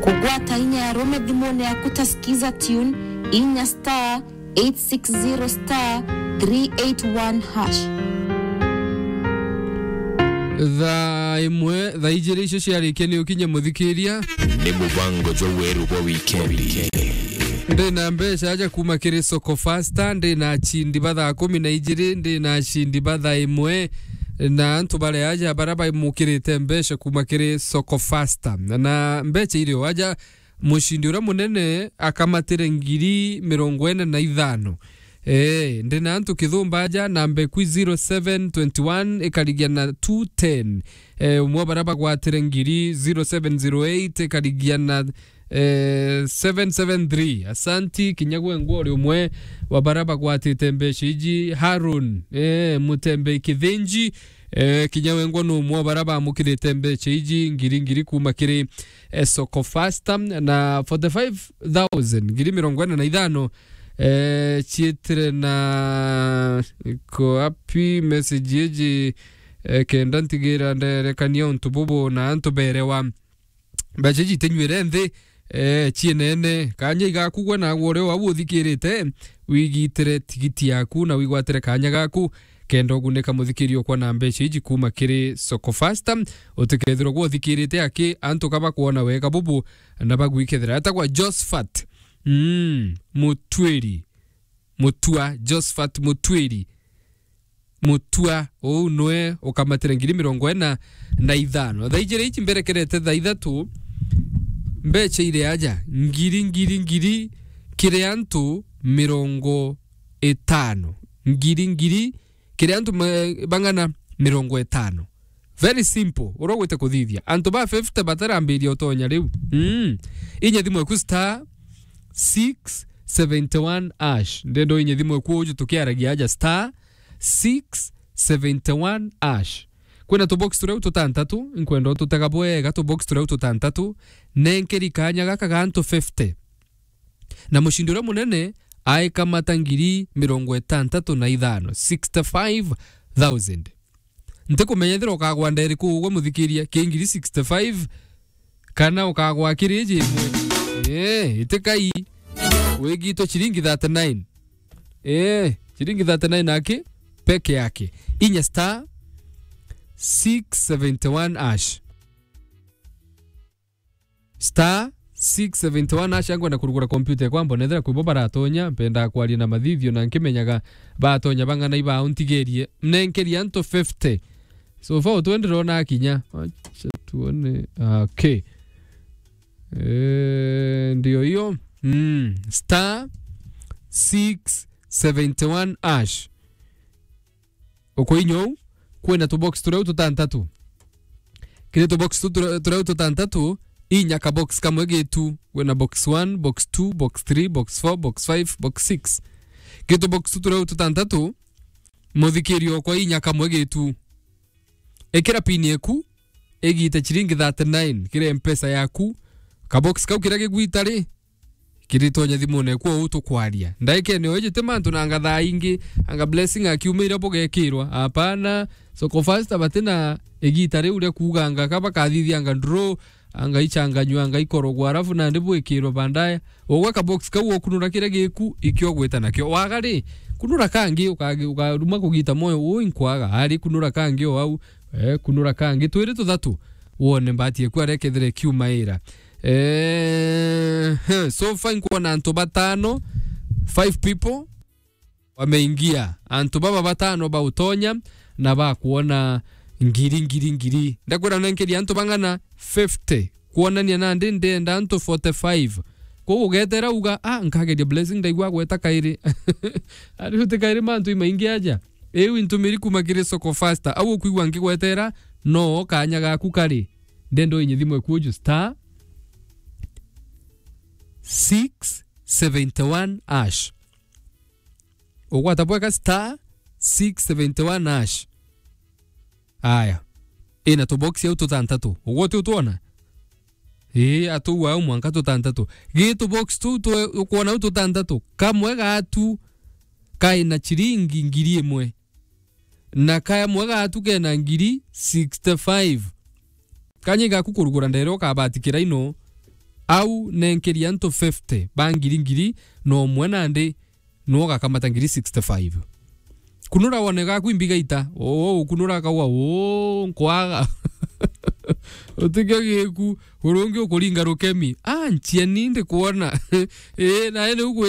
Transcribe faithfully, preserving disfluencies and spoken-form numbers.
Kugwata inya ya rume thimune yaku ta Skiza Tune, inya star eight six zero star three eight one hash. Thaa imwe, thaa ijiri icio ciarikia ni ukinye muthikiria. Ni mubango jwa weru bwa wikendi. Ndi na mbeca aja kuma kiri Soko Fasta, ndi na achindi ba thaa kumi na ijiri, ndi na achindi ba thaa imwe, na antu baria aja baria baimukirite mbeca kuma kiri Soko Fasta. Na mbeca irio aja, mucindi uria munene akamatire ngiri mirongo ina na ithano. Ee, ndi na antu kithumba aja, namba eku zero seven twenty one ikarigia na two ten. Ee, umwe wa baria bagwatire ngiri, zero seven zero eight ikarigia na, ee, seven seven three. Asanti, kinya gwe ngwori umwe wa baria bagwatite mbeca iji, Harun, ee, Mutembei Kithinji, ee, kinya wengwa ni umwe wa baria bamukirite mbeca iji, ngiri ngiri kuma kiri, ee, Soko Fasta, na forty five thousand, ngiri mirongo ina na ithano, ee, ciitire na, iko api message iji, ee, kenda ntigira nderekania untu bubu na antu berewa. Mbeca iji itinyuire nthi, ee, cienene. Kanya igaku gwe naagwe uria wau uthikirite, wigitire tigiti yaku na wigwatire kanya gaku, kenda ugunika muthikiri okwa na mbeca iji kuma kiri Soko Fasta. Utikethirwa gwe uthikirite aki antu ka bakwona wega bubu na bagwikethira. Etagwa Josphat, mm, Mutwiri. Mutua, Josphat Mutwiri. Mutua, uu nwe ukamatire ngiri mirongo ina na ithano. Thaa ijiri iji mberekerete thaa ithatu, mbeca iri aja, ngiri, ngiri, ngiri, kiri antu mirongo itano. Ngiri, ngiri, kiri antu ma-, bang'ana mirongo itano. Very simple, uria ugwite kuthithia. Antu ba fifty batarambiria utonya riu. Mm. Inya thimu eku star six seventy one hash. Ndendo inye thimu eku uju tukiaragia aja star six seventy one hash. Kwina tubox turia tutantatu, nkwenda ututega bwega tubox turia tutantatu. Nenkeri kanya gaka ga antu fifty. Na mucindi uria munene aikamata ngiri mirongo itantatu na ithano, sixty five thousand. Ntikumenya ethira ukagwa nderi ku ugwe muthikiria, ki ngiri sixty five, kana ukagwa kiri iji imwe. Ee, itikai. Wigitwe ciringi thirty nine. Ee, ciringi thirty nine aki peke yake. Inya star six seventy one hash. Star six seventy one hash, ankwenda kurugura kompyuta ekwa, mbona ethira kwibo baratonya, mpendaa kwaria na mathithio na nkimenyaga batonya bang'ana iba untigerie. Nenkeria antu fifty. So far, utwe ndirona akinya. Acha tuone. Ah, okay. Eh, ndio hiyo. Mm. Star six seventy one hash. Ukoinya uu, kwina tubox turia tutantatu. Kiri tubox tu turia, turia tutantatu, inya kabox kamwe gitu. Kwina box one, box two, box three, box four, box five, box six. Kiri tubox tu turia tutantatu, muthikirio kwa inya kamwe gitu. Ikira pin eku, igite ciringi thirty nine kiri mpesa yaku. Kabox kau kiria gigwita ri, kiritonya thimune eku uu tukwaria. Ndaikene oiji ti mantu na ngathaa ingi, anga blessing akiumira bugekirwa. Apana, Soko Fasta batina igita riu ria kuuganga ka bakathithianga draw, anga ichanganywa, anga ikorogwa, alafu nandi bwikirwa baadaye. Ugwe kabox kau ukunura kiria giku, ikio gwita nakio. Waga ri, kunura kangi, ukagi-, ukaruma kugita moyo, uu inkwaga. Ari kunura kangi o au, eh, kunura kangi. Twiri tuthatu, wone mbati eku aria kethire kiumaira. Eh, he, so far nkwona antu batano, five people wameingia. Antu baba batano bautonya na bakwona ngiri, ngiri, ngiri. Ndakwira nenkeria antu bang'ana fifty. Kwonania nandi ndenda antu forty five. Kwou ugetera uga, "Ah, nkageria blessing ndaigua gweta kairi." Ari uti kairi mantu imaingi aja. Iu intumiri kuma kiri Soko Fasta. Au ukwigua nkigwetera, no kanya gaku kari. Ndendo inye thimu eku uju star six seventy one hash. Ugwata bwega star six seventy one hash. Aya. Ina tubox au tutantatu. Ugwe uti utwona? Ii, atuu au mwanka tutantatu. Gi tubox tu twe-, ukwona au tutantatu. Kamwe gatu kaina ciringi ngiri imwe. Na kamwe gatu kena ngiri sixty five. Kanya gaku kurugura ndere ukabatikira ino. Au nenkeria antu fifty ba ngiri ngiri na umwe nandi, nuo ugakamata ngiri sixty-five. Kunura wone gaku imbiga ita, oo, kunura kaua, oo, nkwaga. Utige giku, urungi ukuringa rukemi. Ah, nchieni ndikwona. Ii, nae niu gwi-